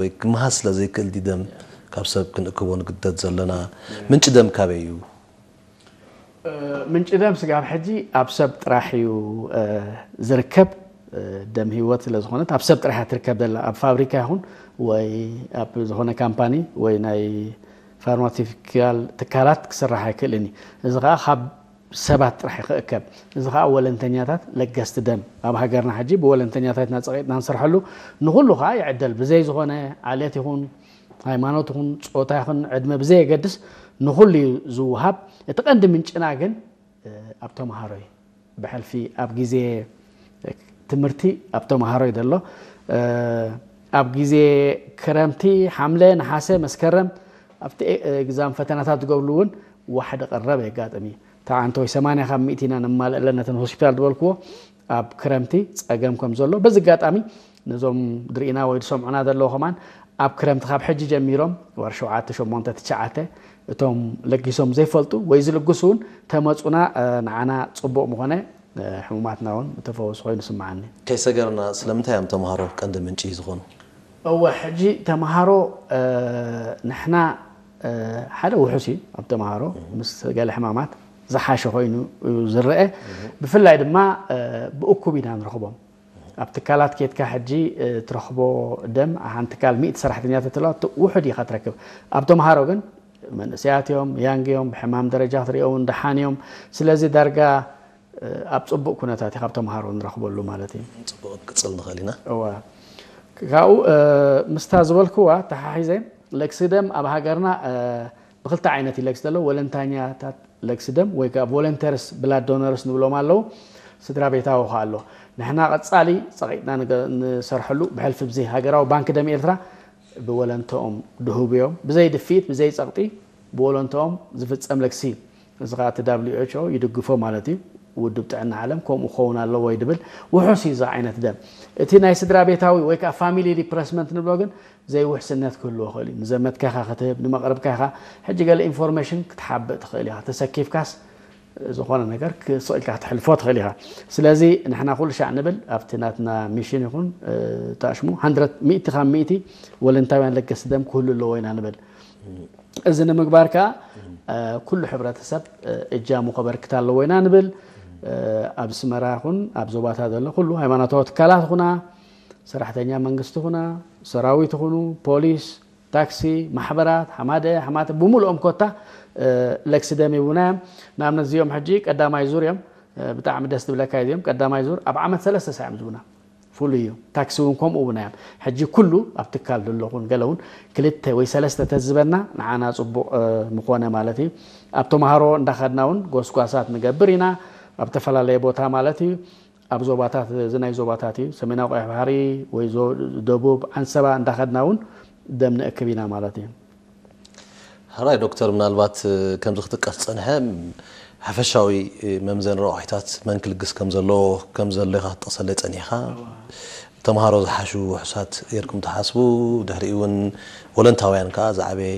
ወይ ክመሃዝ ስለ ዘይክእል ድዩ ደም ካብ ሰብ ክንእክቦ ንግደድ ዘለና? ምንጪ ደም ካበይ እዩ? ምንጪ ደም ስጋብ ሕጂ ኣብ ሰብ ጥራሕ እዩ ዝርከብ። ደም ህይወት ስለ ዝኾነት ኣብ ሰብ ጥራሕ እያ ትርከብ ዘላ። ኣብ ፋብሪካ ይኹን ወይ ኣብ ዝኾነ ካምፓኒ ወይ ናይ ፋርማሲውቲካል ትካላት ክስራሕ ኣይክእልን እዩ። እዚ ከዓ ካብ ሰባት ጥራሕ ክእከብ። እዚ ከዓ ወለንተኛታት ለገስቲ ደም ኣብ ሃገርና ሕጂ ብወለንተኛታት ኢና ፀቂጥና ንሰርሐሉ። ንኩሉ ከዓ ይዕደል። ብዘይ ዝኾነ ዓሌት ይኹን ሃይማኖት ይኹን ፆታ ይኹን ዕድመ ብዘየገድስ ንኩሉ እዩ ዝወሃብ። እቲ ቀንዲ ምንጭና ግን ኣብ ተምሃሮ እዩ። ብሕልፊ ኣብ ግዜ ትምህርቲ ኣብ ተምሃሮ እዩ ዘሎ። ኣብ ግዜ ክረምቲ ሓምለ፣ ነሓሰ፣ መስከረም ኣብቲ ኤግዛም ፈተናታት ዝገብርሉ እውን ዋሕዲ ቀረብ የጋጥም እዩ። ተዓንተ ወይ ሰማንያ ካብ ሚእቲ ኢና ነማልእ ኣለና ነተን ሆስፒታል ዝበልክዎ ኣብ ክረምቲ ፀገም ከም ዘሎ በዚ ኣጋጣሚ ነዞም ድርኢና ወይ ዝሰምዑና ዘለዉ ከማን ኣብ ክረምቲ ካብ ሕጂ ጀሚሮም ወር ሸውዓተ ሸሞንተ ትሽዓተ እቶም ለጊሶም ዘይፈልጡ ወይ ዝልግሱ እውን ተመፁና ንዓና ፅቡቕ ምኾነ ሕሙማትና እውን ምተፈወሱ ኮይኑ ስምዓኒ። ከይሰገርና ስለምንታይ እዮም ተምሃሮ ቀንዲ ምንጪ ዝኾኑ? እወ ሕጂ ተምሃሮ ንሕና ሓደ ውሑስ እዩ ኣብ ተምሃሮ ምስ ገለ ሕማማት ዝሓሸ ኮይኑ እዩ ዝረአ። ብፍላይ ድማ ብእኩብ ኢና ንረኽቦም። ኣብ ትካላት ኬድካ ሕጂ ትረኽቦ ደም ሓንቲ ትካል ሚእቲ ሰራሕተኛ ተትህልዋ ውሑድ ኢኻ ትረክብ። ኣብ ተምሃሮ ግን መንእሰያት እዮም፣ ያንግ እዮም፣ ብሕማም ደረጃ ክትሪኦም እውን ደሓን እዮም። ስለዚ ዳርጋ ኣብ ፅቡቅ ኩነታት እዩ ካብ ተምሃሮ ንረኽበሉ ማለት እዩ። ፅቡቅ ክንቅፅል ንኽእል ኢና። እዋ ካብኡ ምስታ ዝበልክዋ ተሓሒዘ ለግሲ ደም ኣብ ሃገርና ብክልተ ዓይነት እዩ ለግሲ ዘሎ። ወለንታኛታት ለግሲ ደም ወይ ከዓ ቮለንተርስ ብላድ ዶነርስ ንብሎም ኣለዉ። ስድራ ቤታዊ ከዓ ኣሎ። ንሕና ቀፃሊ ፀቂጥና ንሰርሐሉ ብሕልፊ ብዚ ሃገራዊ ባንክ ደም ኤርትራ ብወለንተኦም ድሁብ እዮም። ብዘይ ድፍኢት ብዘይ ፀቕጢ ብወለንተኦም ዝፍፀም ለግሲ እዩ። እዚ ከዓ እቲ ዳብሊው ኤች ኦ ይድግፎ ማለት እዩ። ውድብ ጥዕና ዓለም ከምኡ ክኸውን ኣለዎ ይድብል። ውሑስ እዩ እዚ ዓይነት ደም። እቲ ናይ ስድራ ቤታዊ ወይ ከዓ ፋሚሊ ሪፕረስመንት ንብሎ ግን ዘይውሕስነት ክህልዎ ይኽእል እዩ። ንዘመድካ ኢኻ ክትህብ፣ ንመቕርብካ ኢኻ። ሕጂ ገለ ኢንፎርሜሽን ክትሓብእ ትኽእል ኢኻ። ተሰኪፍካስ ዝኾነ ነገር ክስቕ ኢልካ ክትሕልፎ ትኽእል ኢኻ። ስለዚ ንሕና ኩሉ ሻዕ ንብል ኣብቲ ናትና ሚሽን ይኹን ታሽሙ ሚእቲ ካብ ሚእቲ ወለንታውያን ለገስቲ ደም ክህሉ ኣለዎ ኢና ንብል። እዚ ንምግባር ከዓ ኩሉ ሕብረተሰብ እጃሙ ከበርክት ኣለዎ ኢና ንብል። ኣብ ኣስመራ ይኹን ኣብ ዞባታት ዘሎ ኩሉ ሃይማኖታዊ ትካላት ይኹና፣ ሰራሕተኛ መንግስቲ ይኹና፣ ሰራዊት ይኹኑ፣ ፖሊስ፣ ታክሲ፣ ማሕበራት፣ ሓማደ፣ ሓማተ ብምሉኦም ኮታ ለግሲ ደም ይቡና እዮም። ንኣብነት እዚኦም ሕጂ ቀዳማይ ዙር እዮም። ብጣዕሚ ደስ ዝብለካ እዚኦም ቀዳማይ ዙር ኣብ ዓመት ሰለስተ ሳዕ እዮም ዝቡና። ፍሉይ እዩ። ታክሲ እውን ከምኡ እውን እዮም። ሕጂ ኩሉ ኣብ ትካል ዘለኹን ገለ እውን ክልተ ወይ ሰለስተ ተዝበና ንዓና ፅቡቕ ምኾነ ማለት እዩ። ኣብ ተምሃሮ እንዳኸድና እውን ጎስጓሳት ንገብር ኢና ኣብ ዝተፈላለየ ቦታ ማለት እዩ። ኣብ ዞባታት እዚ ናይ ዞባታት እዩ ሰሜናዊ ቀይሕ ባሕሪ ወይ ደቡብ ዓንሰባ እንዳኸድና እውን ደም ንእክብ ኢና ማለት እዩ። ሕራይ ዶክተር፣ ምናልባት ከምዚ ክትጥቀስ ዝፀንሐ ሓፈሻዊ መምዘኒ ረቋሒታት መን ክልግስ ከም ዘለዎ ከም ዘሎ ኢኻ ክትጠቕሰለይ ፀኒሕካ። ተምሃሮ ዝሓሹ ውሑሳት ጌርኩም ትሓስቡ፣ ድሕሪኡ እውን ወለንታውያን ከዓ ዝዓበየ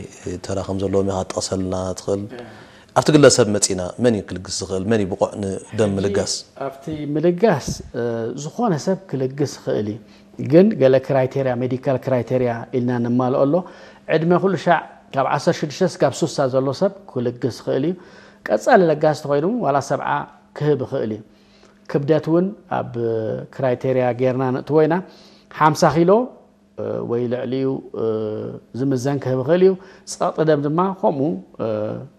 ተራ ከም ዘለዎም ኢኻ ክትጠቕሰልና ትኽእል። ኣብቲ ግለሰብ መፂና መን እዩ ክልግስ ዝኽእል? መን እዩ ብቑዕ ንደም ምልጋስ? ኣብቲ ምልጋስ ዝኾነ ሰብ ክልግስ ይኽእል እዩ። ግን ገለ ክራይቴርያ ሜዲካል ክራይቴርያ ኢልና ነማልኦ ኣሎ። ዕድመ ኩሉ ሻዕ ካብ ዓሰርተ ሽዱሽተ ስጋብ ሱሳ ዘሎ ሰብ ክልግስ ይኽእል እዩ። ቀፃሊ ለጋሲ ተኮይኑ ዋላ ሰብዓ ክህብ ይኽእል እዩ። ክብደት እውን ኣብ ክራይቴርያ ጌርና ንእትዎ ኢና። ሓምሳ ኪሎ ወይ ልዕሊኡ ዝምዘን ክህብ ይኽእል እዩ። ፀቕጢ ደም ድማ ከምኡ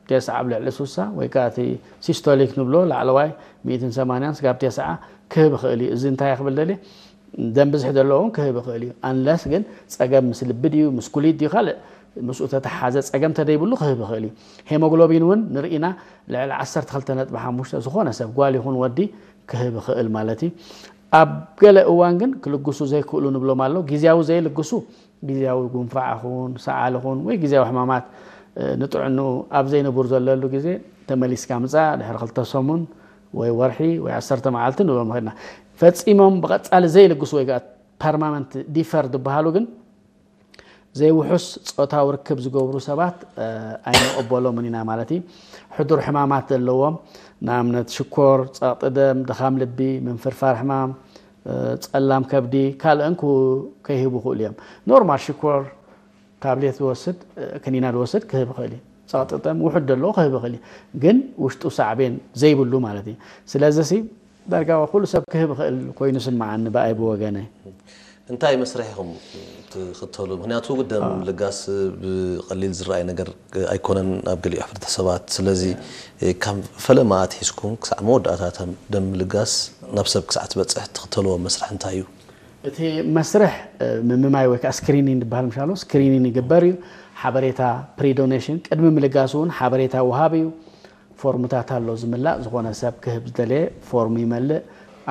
ቴስዓ ኣብ ልዕሊ ሱሳ ወይ ከዓ እቲ ሲስቶሊክ ንብሎ ላዕለዋይ ሚእትን ሰማንያን ስጋብ ቴስዓ ክህብ ይኽእል እዩ። እዚ እንታይ ክብል ደልየ ደም ብዝሒ ዘለዎ እውን ክህብ ይኽእል እዩ። ኣንለስ ግን ፀገም ምስ ልቢ ድዩ ምስ ኩሊት ድዩ ካልእ ምስኡ ተተሓዘ ፀገም ተደይብሉ ክህብ ይኽእል እዩ። ሄሞግሎቢን እውን ንርኢና ልዕሊ ዓሰርተ ክልተ ነጥቢ ሓሙሽተ ዝኾነ ሰብ ጓል ይኹን ወዲ ክህብ ይኽእል ማለት እዩ። ኣብ ገለ እዋን ግን ክልግሱ ዘይክእሉ ንብሎም ኣሎ። ግዝያዊ ዘይልግሱ ግዝያዊ ጉንፋዕ ኹን ሰዓል ኹን ወይ ግዝያዊ ሕማማት ንጥዕንኡ ኣብ ዘይንቡር ዘለሉ ግዜ ተመሊስካ ምፃእ ድሕሪ ክልተ ሰሙን ወይ ወርሒ ወይ ዓሰርተ መዓልቲ ንብሎም ኸድና ፈፂሞም ብቐፃሊ ዘይልግሱ ወይ ከዓ ፐርማመንት ዲፈር ዝበሃሉ ግን ዘይውሑስ ፆታዊ ርክብ ዝገብሩ ሰባት ኣይንቕበሎምን ኢና ማለት እዩ። ሕዱር ሕማማት ዘለዎም ንኣብነት ሽኮር፣ ፀቕጢ ደም፣ ድኻም ልቢ፣ ምንፍርፋር ሕማም፣ ጸላም ከብዲ ካልእን ከይህቡ ክእሉ እዮም። ኖርማል ሽኮር ታብሌት ዝወስድ ክኒና ዝወስድ ክህብ ይኽእል እዩ። ጸቕጢ ደም ውሑድ ዘለዎ ክህብ ይኽእል እዩ። ግን ውሽጡ ሳዕቤን ዘይብሉ ማለት እዩ። ስለዚ ሲ ዳርጋ ኩሉ ሰብ ክህብ ይኽእል ኮይኑ ስምዓኒ ብኣይ ብወገነይ። እንታይ መስርሕ ኢኹም ትኽተሉ? ምክንያቱ ደም ምልጋስ ብቐሊል ዝረኣይ ነገር ኣይኮነን ኣብ ገሊኡ ሕብረተሰባት። ስለዚ ካብ ፈለማ ኣትሒዝኩም ክሳዕ መወዳእታ ደም ምልጋስ ናብ ሰብ ክሳዕ ትበፅሕ ትኽተልዎ መስርሕ እንታይ እዩ? እቲ መስርሕ ምምማይ ወይ ከዓ ስክሪኒንግ ዝበሃል ምሻሎ ስክሪኒንግ ይግበር እዩ። ሓበሬታ ፕሪዶኔሽን ቅድሚ ምልጋስ እውን ሓበሬታ ውሃብ እዩ። ፎርምታት ኣሎ ዝምላእ። ዝኾነ ሰብ ክህብ ዝደለየ ፎርም ይመልእ።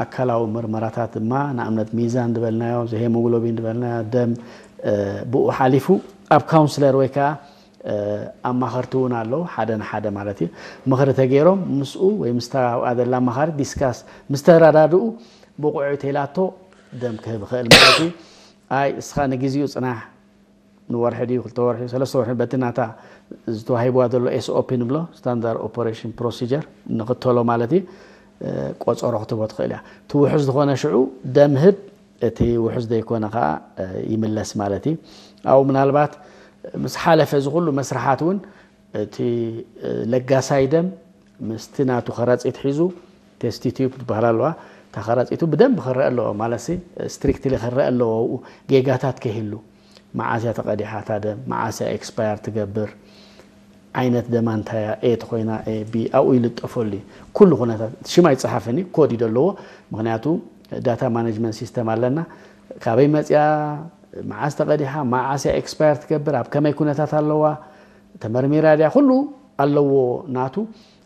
ኣካላዊ ምርመራታት ድማ ንኣብነት ሚዛን ዝበልናዮ፣ ሄሞግሎቢን ዝበልናዮ፣ ደም ብኡ ሓሊፉ ኣብ ካውንስለር ወይ ከዓ ኣማኸርቲ እውን ኣለዉ። ሓደ ንሓደ ማለት እዩ ምኽሪ ተገይሮም ምስኡ ወይ ምስታ ኣብኣ ዘላ ኣማኻሪት ዲስካስ ምስ ተረዳድኡ ብቑዑ ተይላቶ ደም ክህብ ይኽእል ማለት እዩ። ኣይ እስኻ ንግዜኡ ፅናሕ ንወርሒ ድዩ ክልተ ወርሒ ሰለስተ ወርሒ በቲ ናታ ዝተዋሂብዋ ዘሎ ኤስኦፒ ንብሎ ስታንዳርድ ኦፐሬሽን ፕሮሲጀር ንኽተሎ ማለት እዩ። ቆፀሮ ክትቦ ትኽእል እያ። እቲ ውሑስ ዝኾነ ሽዑ ደም ህብ፣ እቲ ውሑስ ዘይኮነ ከዓ ይምለስ ማለት እዩ። ኣብኡ ምናልባት ምስ ሓለፈ እዚ ኩሉ መስርሓት እውን እቲ ለጋሳይ ደም ምስቲ ናቱ ከረፂት ሒዙ ቴስቲ ቲዩብ ትበሃል ኣለዋ። እታ ከረፂቱ ብደንብ ክረአ ኣለዎ ማለት ስትሪክትሊ ክረአ ኣለዎ። ኣብኡ ጌጋታት ከይህሉ መዓስ እያ ተቐዲሓ እታ ደም፣ መዓስ እያ ኤክስፓየር ትገብር፣ ዓይነት ደማ እንታይ እያ፣ ኤ ተኾይና ኤ ቢ ኣብኡ ይልጠፈሉ እዩ። ኩሉ ኩነታት ሽም ኣይፀሓፍን እዩ፣ ኮድ እዩ ዘለዎ። ምክንያቱ ዳታ ማኔጅመንት ሲስተም ኣለና። ካበይ መፅያ፣ መዓስ ተቐዲሓ፣ መዓስ እያ ኤክስፓየር ትገብር፣ ኣብ ከመይ ኩነታት ኣለዋ፣ ተመርሚራ ድያ፣ ኩሉ ኣለዎ ናቱ።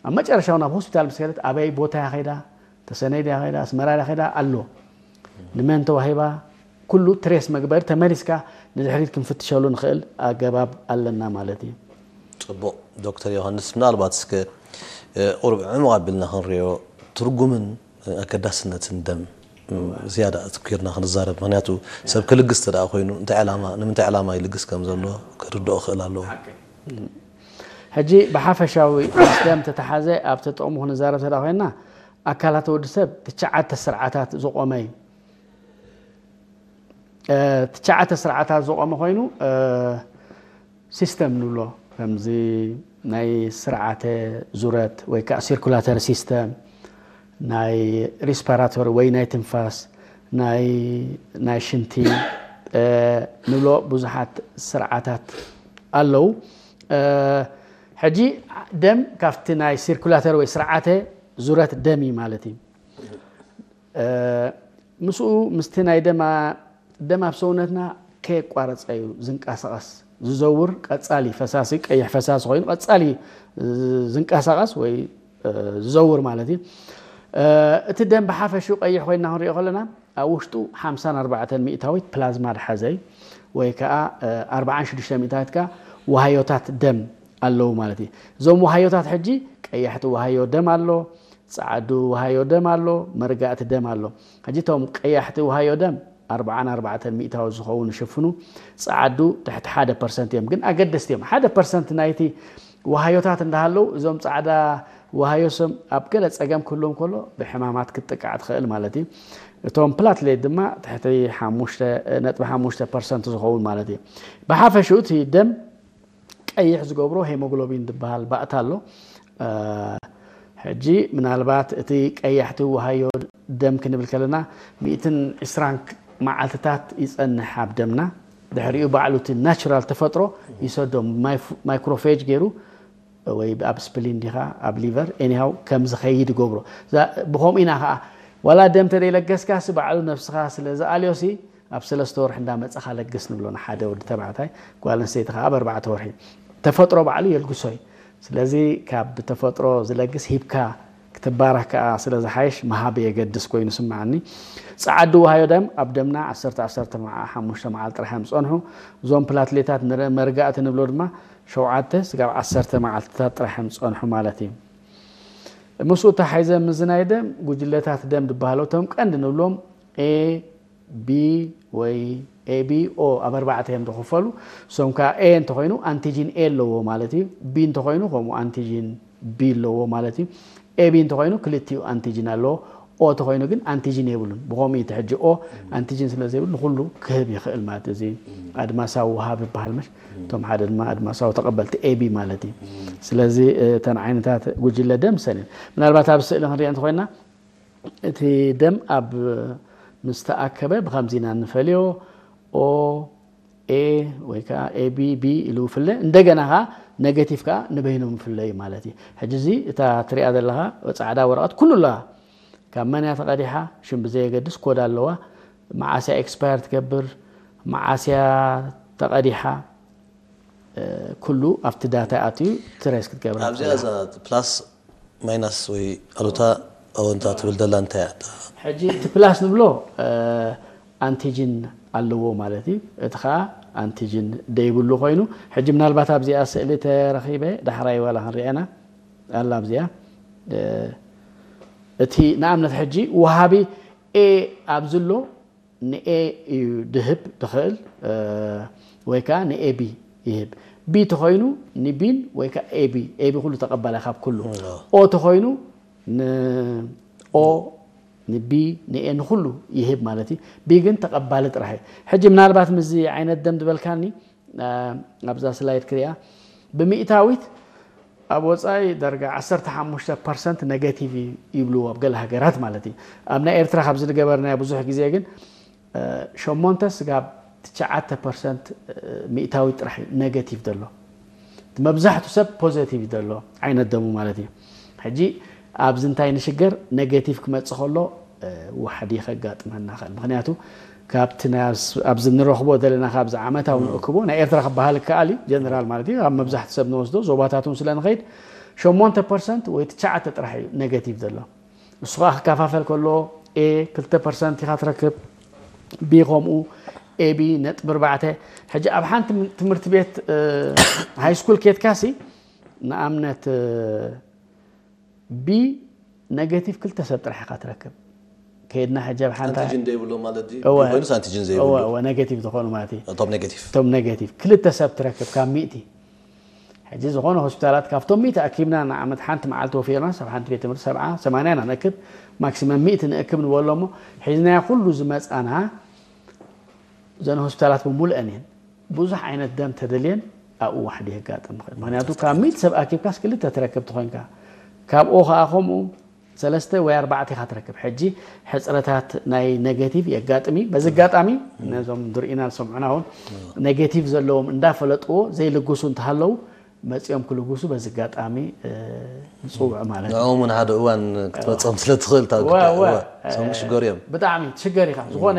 ኣብ መጨረሻ እውን ኣብ ሆስፒታል ምስ ከደት ኣበይ ቦታ እያ ከይዳ፣ ተሰነይ ድያ ከይዳ፣ ኣስመራ ድያ ከይዳ ኣሎ። ንመን ተዋሂባ፣ ኩሉ ትሬስ መግበሪ ተመሊስካ ንድሕሪት ክንፍትሸሉ ንኽእል ኣገባብ ኣለና ማለት እዩ። ፅቡቕ ዶክተር ዮሃንስ፣ ምናልባት እስከ ቁሩብ ዕሙቕ ኣቢልና ክንሪኦ ትርጉምን ኣገዳስነትን ደም ዝያዳ ኣትኪርና ክንዛረብ። ምክንያቱ ሰብ ክልግስ ተደኣ ኮይኑ እንታይ ዕላማ፣ ንምንታይ ዕላማ ይልግስ ከም ዘሎ ክርድኦ ክእል ኣለዎ። ሕጂ ብሓፈሻዊ ምስ ደም ተተሓዘ ኣብቲ ጥቕሙ ክንዛረብ ተደኣ ኮይና ኣካላት ወዲ ሰብ ትሽዓተ ስርዓታት ዝቆመ እዩ። ትሽዓተ ስርዓታት ዝቆመ ኮይኑ ሲስተም ንብሎ ከምዚ ናይ ስርዓተ ዙረት ወይ ከዓ ሲርኩላተሪ ሲስተም ናይ ሪስፓራቶሪ ወይ ናይ ትንፋስ ናይ ናይ ሽንቲ ንብሎ ብዙሓት ስርዓታት ኣለዉ። ሕጂ ደም ካብቲ ናይ ሲርኩላተሪ ወይ ስርዓተ ዙረት ደም እዩ ማለት እዩ። ምስኡ ምስቲ ናይ ደማ ደም ኣብ ሰውነትና ከየቋረፀ እዩ ዝንቀሳቐስ ዝዘውር ቀፃሊ ፈሳሲ ቀይሕ ፈሳሲ ኮይኑ ቀፃሊ ዝንቀሳቐስ ወይ ዝዘውር ማለት እዩ። እቲ ደም ብሓፈሽኡ ቀይሕ ኮይና ክንሪኦ ከለና ኣብ ውሽጡ ሓምሳን ኣርባዕተን ሚእታዊት ፕላዝማ ዝሓዘ እዩ ወይ ከዓ ኣርባዓን ሽዱሽተ ሚእታዊት ከዓ ዋሃዮታት ደም ኣለዉ ማለት እዩ። እዞም ዋሃዮታት ሕጂ ቀያሕቲ ዋሃዮ ደም ኣሎ፣ ፃዓዱ ዋሃዮ ደም ኣሎ፣ መርጋእቲ ደም ኣሎ። ሕጂ እቶም ቀያሕቲ ዋሃዮ ደም ኣርባዓን ኣርባዕተን ሚእታዊ ዝኸውን ይሽፍኑ፣ ፃዓዱ ትሕቲ ሓደ ፐርሰንት እዮም። ግን ኣገደስቲ እዮም። ሓደ ፐርሰንት ናይቲ ዋሃዮታት እንዳሃለዉ እዞም ፃዕዳ ዋሃዮ ስም ኣብ ገለ ፀገም ክህልዎም ከሎ ብሕማማት ክትጥቃዕ ትኽእል ማለት እዩ። እቶም ፕላትሌት ድማ ትሕቲ ሓሙሽተ ነጥቢ ሓሙሽተ ፐርሰንት ዝኸውን ማለት እዩ። ብሓፈሽኡ እቲ ደም ቀይሕ ዝገብሮ ሄሞግሎቢን ዝበሃል ባእታ ኣሎ። ሕጂ ምናልባት እቲ ቀያሕቲ ዋሃዮ ደም ክንብል ከለና ሚእትን ዕስራን መዓልትታት ይፀንሕ ኣብ ደምና። ድሕሪኡ ባዕሉ እቲ ናቹራል ተፈጥሮ ይሰዶ ማይክሮፌጅ ገይሩ ወይ ኣብ ስፕሊን ዲኻ ኣብ ሊቨር ኤኒሃው ከም ዝኸይድ ይገብሮ። ብኸምኡ ኢና ከዓ ዋላ ደም ተደይለገስካ ሲ ባዕሉ ነብስኻ ስለ ዝኣልዮ ሲ ኣብ ሰለስተ ወርሒ እንዳመፀኻ ለግስ ንብሎ ንሓደ ወዲ ተባዕታይ። ጓል ኣንስተይቲ ከዓ ኣብ ኣርባዕተ ወርሒ ተፈጥሮ ባዕሉ የልግሶ እዩ። ስለዚ ካብ ተፈጥሮ ዝለግስ ሂብካ ክትባረኽ ከዓ ስለ ዝሓይሽ ምሃብ የገድስ ኮይኑ ስምዓኒ። ፃዓዱ ዋሃዮ ደም ኣብ ደምና ዓሰርተ ዓሰርተ ሓሙሽተ መዓልቲ ጥራሕ እዮም ዝፀንሑ። እዞም ፕላትሌታት መርጋእቲ ንብሎ ድማ ሸውዓተ ስጋብ ዓሰርተ መዓልትታት ጥራሕ እዮም ዝፀንሑ ማለት እዩ። ምስኡ ተሓይዘ ምዝናይ ደም ጉጅለታት ደም ዝበሃሉ እቶም ቀንዲ ንብሎም ኤ ቢ ወይ ኤ ቢ ኦ ኣብ ኣርባዕተ እዮም ዝኽፈሉ። እሶም ከዓ ኤ እንተኮይኑ ኣንቲጂን ኤ ኣለዎ ማለት እዩ። ቢ እንተኮይኑ ከምኡ ኣንቲጂን ቢ ኣለዎ ማለት እዩ። ኤ ቢ እንተኮይኑ ክልቲኡ ኣንቲጂን ኣለዎ። ኦ ተኮይኑ ግን ኣንቲጂን የብሉን። ብኸምኡ እቲ ሕጂ ኦ ኣንቲጂን ስለ ዘይብሉ ንኩሉ ክህብ ይኽእል ማለት እዩ። እዚ ኣድማሳዊ ወሃቢ ይበሃል፣ መሽ እቶም ሓደ ድማ ኣድማሳዊ ተቐበልቲ ኤቢ ማለት እዩ። ስለዚ እተን ዓይነታት ጉጅለ ደም ሰን ምናልባት ኣብ ስእሊ ክንሪኦ እንተኮይና እቲ ደም ኣብ ምስ ተኣከበ ብከምዚ ኢና ንፈልዮ። ኦ ኤ ወይ ከዓ ኤቢ ቢ ኢሉ ፍለ፣ እንደገና ከዓ ኔጌቲቭ ከዓ ንበይኖም ፍለ እዩ ማለት እዩ። ሕጂ እዚ እታ ትሪኣ ዘለኻ ፃዕዳ ወረቐት ኩሉ ኣለዋ። ካብ መን እያ ተቐዲሓ ሽም ብዘየገድስ ኮድ ኣለዋ። መዓስያ ኤክስፓየር ትገብር፣ መዓስያ ተቐዲሓ፣ ኩሉ ኣብቲ ዳታ ኣትዩ ትሬስ ክትገብር ኣብዚኣ እዛ ፕላስ ማይናስ ወይ ኣሉታ ኣወንታ ትብል ደላ እንታይ እያ? ሕጂ እቲ ፕላስ ንብሎ ኣንቲጅን ኣለዎ ማለት እዩ። እቲ ከዓ ኣንቲጅን ደይብሉ ኮይኑ ሕጂ ምናልባት ኣብዚኣ ስእሊ ተረኺበ ዳሕራይ ዋላ ክንሪአና ኣላ ኣብዚኣ እቲ ንኣብነት ሕጂ ወሃቢ ኤ ኣብዚ ኣሎ ንኤ እዩ ድህብ ድኽእል ወይ ከዓ ንኤቢ ይህብ። ቢ ተኾይኑ ንቢን ወይ ከዓ ኤቢ ኤቢ ኩሉ ተቐባላይ ካብ ኩሉ ኦ ተኾይኑ ንኦ ንቢ ንኤ ንኩሉ ይህብ ማለት እዩ። ቢ ግን ተቐባሊ ጥራሕ እዩ። ሕጂ ምናልባት ምስዚ ዓይነት ደም ዝበልካኒ ኣብዛ ስላይድ ክሪኣ ብሚእታዊት ኣብ ወፃኢ ደረጃ ዓሰርተ ሓሙሽተ ፐርሰንት ኔጌቲቭ ይብልዎ ኣብ ገለ ሃገራት ማለት እዩ። ኣብ ናይ ኤርትራ ካብዚ ዝገበርናዮ ብዙሕ ግዜ ግን ሸሞንተ ስጋብ ትሽዓተ ፐርሰንት ሚእታዊት ጥራሕ እዩ ኔጌቲቭ ዘሎ። መብዛሕቱ ሰብ ፖዘቲቭ ዘሎ ዓይነት ደሙ ማለት እዩ። ሕጂ ኣብዚ እንታይ ንሽገር ኔጌቲቭ ክመፅእ ከሎ ዋሕዲ ከጋጥመና ይኽእል። ምክንያቱ ካብቲ ኣብዚ ንረኽቦ ዘለና ካብዚ ዓመታዊ ንእክቦ ናይ ኤርትራ ክበሃል ይከኣል እዩ። ጀነራል ማለት እዩ። ኣብ መብዛሕቲ ሰብ ንወስዶ ዞባታት እውን ስለ ንኸይድ ሸሞንተ ፐርሰንት ወይ ትሽዓተ ጥራሕ እዩ ኔጌቲቭ ዘሎ። እሱ ከዓ ክከፋፈል ከሎ ኤ ክልተ ፐርሰንት ኢኻ ትረክብ፣ ቢ ከምኡ፣ ኤቢ ነጥቢ ኣርባዕተ። ሕጂ ኣብ ሓንቲ ትምህርቲ ቤት ሃይ ስኩል ኬድካሲ ንኣብነት ቢ ኔጌቲቭ ክልተ ሰብ ጥራሕ ኢኻ ትረክብ። ከይድና ሕጂ ኣብ ሓንቲ ኣንቲጅን ዘይብሎ ማለት ድዩ? እወ። ኮይኑስ ኣንቲጅን ዘይብሎ። እወ፣ እወ፣ ኔጌቲቭ ዝኾኑ ማለት እዩ። እቶም ኔጌቲቭ። እቶም ኔጌቲቭ ክልተ ሰብ ትረክብ ካብ ሚእቲ። ሕጂ ዝኾነ ሆስፒታላት ካብቶም ሚእቲ ኣኪብና ንዓመት ሓንቲ መዓልቲ ወፊርና ሰብ ሓንቲ ቤት ትምህርቲ ሰብዓ ሰማንያ ኢና ነክብ። ማክሲመም ሚእቲ ንእክብ ንበሎ እሞ ሒዝናዮ ኩሉ ዝመፃና እዘን ሆስፒታላት ብምሉአን እየን። ብዙሕ ዓይነት ደም ተደልየን ኣብኡ ዋሕዲ የጋጥም ይኽእል። ምክንያቱ ካብ ሚእቲ ሰብ ኣኪብካስ ክልተ ትረክብ ተኾይንካ ካብ ኦ ከዓ ከምኡ ሰለስተ ወይ ኣርባዕተ ኢኻ ትረክብ። ሕጂ ሕፅረታት ናይ ኔጌቲቭ የጋጥም እዩ። በዚ ኣጋጣሚ ነዞም ዝርእዩና ዝሰምዑና እውን ኔጌቲቭ ዘለዎም እንዳፈለጥዎ ዘይልግሱ እንተሃለዉ መፂኦም ክልግሱ በዚ ኣጋጣሚ ንፅውዕ ማለት እዩ። ንዕኦም እውን ሓደ እዋን ክትመፅኦም ስለ ትኽእል እታ ጉዳይ እወ፣ እወ። እወ፣ እሶም ክሽገሩ እዮም። ብጣዕሚ ትሽገር ኢኻ። ዝኾነ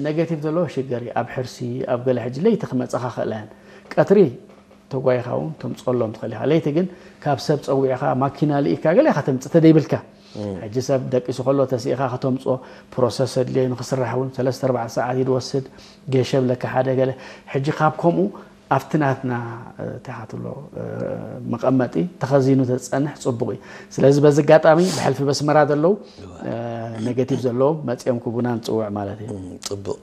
ኔጌቲቭ ዘለዎ ሽገር እዩ። ኣብ ሕርሲ ኣብ ገለ ሕጂ ለይቲ ክመፀኻ ክእላ እየን። ቀትሪ ተጓይኻ እውን ተምፀሎም ትኽእል ኢኻ። ለይቲ ግን ካብ ሰብ ፀዊዕኻ ማኪና ልኢካ ገለ ኢኻ ተምፅእ ተደይብልካ ሕጂ ሰብ ደቂሱ ከሎ ተስኢኻ ከተምፅኦ ፕሮሰስ ኣድልዮ ንክስራሕ እውን ሰለስተ ኣርባዕተ ሰዓት እዩ ዝወስድ። ጌሸ ብለካ ሓደ ገለ ሕጂ ካብ ከምኡ ኣብቲ ናትና እንታይ ኢኻ ትብሎ መቐመጢ ተኸዚኑ ተዝፀንሕ ፅቡቕ እዩ። ስለዚ በዚ ኣጋጣሚ ብሕልፊ በስመራ ዘለዉ ኔጌቲቭ ዘለዎም መፂኦም ክቡና ንፅውዕ ማለት እዩ። ፅቡቕ።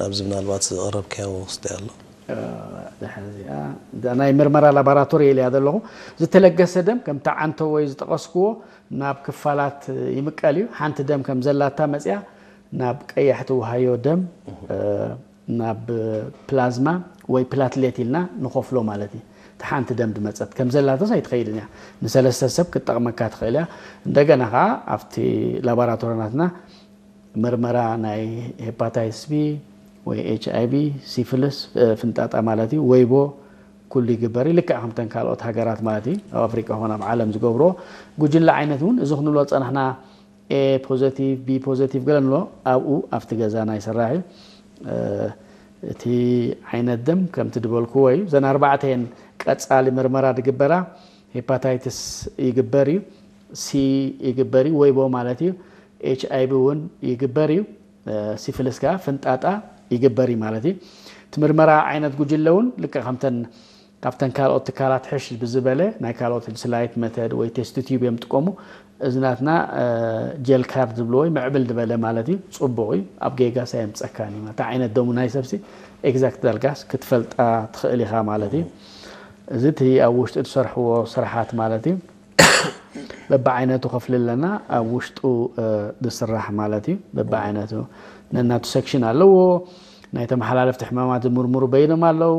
ኣብዚ ምናልባት ዘቕረብካዮ ክስታይ ኣሎ። ድሕሪ እዚኣ እዛ ናይ ምርመራ ላቦራቶሪ ኢለያ ዘለኹ። ዝተለገሰ ደም ከምቲ ዓንቶ ወይ ዝጠቐስክዎ ናብ ክፋላት ይምቀል እዩ። ሓንቲ ደም ከም ዘላታ መፅያ ናብ ቀያሕቲ ውሃዮ ደም ናብ ፕላዝማ ወይ ፕላትሌት ኢልና ንኸፍሎ ማለት እዩ። እቲ ሓንቲ ደም ድመፀት ከም ዘላተስ ኣይትኸይድን እያ። ንሰለስተ ሰብ ክትጠቕመካ ትኽእል እያ። እንደገና ከዓ ኣብቲ ላቦራቶሪ ናትና ምርመራ ናይ ሄፓታይትስ ቢ ወይ ኤች ኣይ ቪ፣ ሲፍልስ፣ ፍንጣጣ ማለት እዩ፣ ወይቦ ኩሉ ይግበር እዩ። ልክዕ ከምተን ካልኦት ሃገራት ማለት እዩ፣ ኣብ ኣፍሪቃ ኾነ ኣብ ዓለም ዝገብርዎ ጉጅለ ዓይነት እውን እዚ ክንብሎ ዝፀናሕና ኤ ፖዘቲቭ፣ ቢ ፖዘቲቭ ገለ ንብሎ ኣብኡ ኣብቲ ገዛ ናይ ሰራሕ እዩ። እቲ ዓይነት ደም ከምቲ ድበልክዎ እዩ። እዘን ኣርባዕተ እየን ቀፃሊ ምርመራ ድግበራ። ሄፓታይትስ ይግበር እዩ፣ ሲ ይግበር እዩ፣ ወይቦ ማለት እዩ። ኤች ኣይ ቪ እውን ይግበር እዩ። ሲፍልስ ከዓ ፍንጣጣ ይግበር እዩ ማለት እዩ። እቲ ምርመራ ዓይነት ጉጅለ እውን ልክዕ ከምተን ካብተን ካልኦት ትካላት ሕሽ ብዝበለ ናይ ካልኦት ስላይት መተድ ወይ ቴስት ቲዩብ እዮም ጥቀሙ። እዚ ናትና ጀል ካርድ ዝብልዎ ወይ ምዕብል ዝበለ ማለት እዩ። ፅቡቕ እዩ። ኣብ ጌጋ ሳየምፀካን እዩ ማለት ዓይነት ደሙ ናይ ሰብሲ ኤግዛክት ዳርጋስ ክትፈልጣ ትኽእል ኢኻ ማለት እዩ። እዚ እቲ ኣብ ውሽጢ ትሰርሕዎ ስራሓት ማለት እዩ። በብዓይነቱ ከፍልለና ኣብ ውሽጡ ዝስራሕ ማለት እዩ። በብዓይነቱ ነናቱ ሴክሽን ኣለዎ። ናይ ተመሓላለፍቲ ሕማማት ዝምርምሩ በይኖም ኣለዉ።